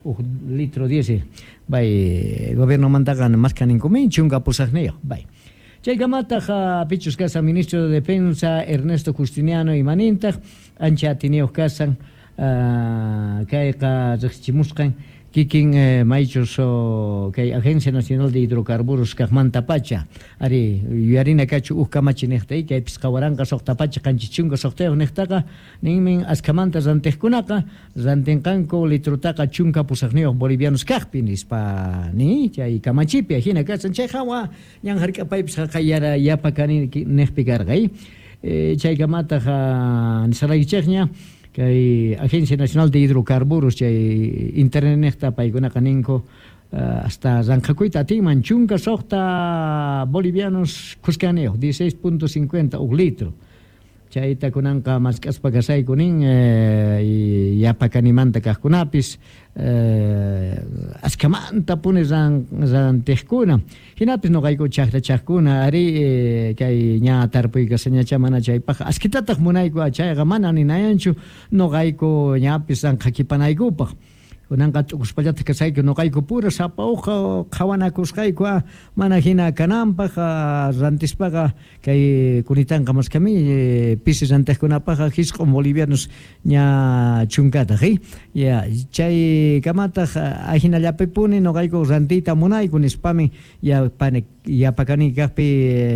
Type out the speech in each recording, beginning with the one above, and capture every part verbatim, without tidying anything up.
Uj litro diez, bay, gobiernomantaqa maskhaninkumin chunka pusaqniyuq, bay. Chaykamataq pichus kasan ministro de Defensa Ernesto Justiniano imanintaq ancha atiniyuq kasan, kayqa riqsichimusqan kikin maychus kay Agencia Nacional de Hidrocarburos kaqmanta pacha ari yuyarina kachu uj kamachi niqta kay pisqa waranqa suqta pacha qanchis chunka suqtayuq niqtaqa ninmin askhamanta rantiqkunaqa rantinqanku litrutaqa chunka pusaqniyuq bolivianos kaqpi nispa ni chay kamachipi ajina kasan chay hawa ñan hark'apaypis haqayara yapa kani niqpi karqa chaykamataq nisaraykichikña kay Agencia Nacional de Hidrocarburos chay internetnejta paykunaqa ninku hasta ranqhakuyta atinman chunka suqta bolivianos khuskaniyuq dieciséis punto cincuenta uj litro chayta kunanqa mask'aspa kasayku nin yapa kanimanta kaqkunapis askhamanta puni rantiqkuna hinapis nuqayku chaqrachaqkuna ari kay ña tarpuy kasañacha mana chaypaq askitataq munayku chayqa mana ninayanchu nuqayku ñapis ranqhakipanaykupaq kunanqa t'ukuspallataq kasayku nuqayku pura sapa uqa qhawanakusqayku mana hina kananpaq rantispaqa kay kunitanqa maskami pisi rantiqkunapaqqa hisq'un bolivianos ña chunkataq ya chaykamataq ajinallapipuni nuqayku rantiyta munayku nispami yapakani kaqpi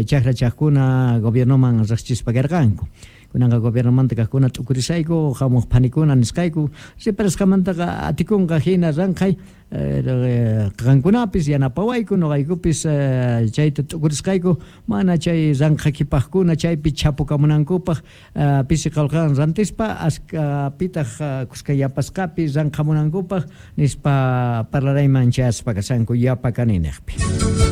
chaqrachaqkuna gobiernoman riqsichispa karqanku. Kunanqa gobiernomanta kaqkuna t'ukurisayku hamuq phanikuna nisqayku riparasqamantaqa atikunqa hina ranqhay qankunapis yanapawayku nuqaykupis chayta t'ukurisqayku mana chay ranqhakipaqkuna chaypi chapukamunankupaq pisi qallqawan rantispa askapitaq kuska yapasqapi ranqhamunankupaq nispa parlarayman chayaspa kasanku yapa kani niqpi.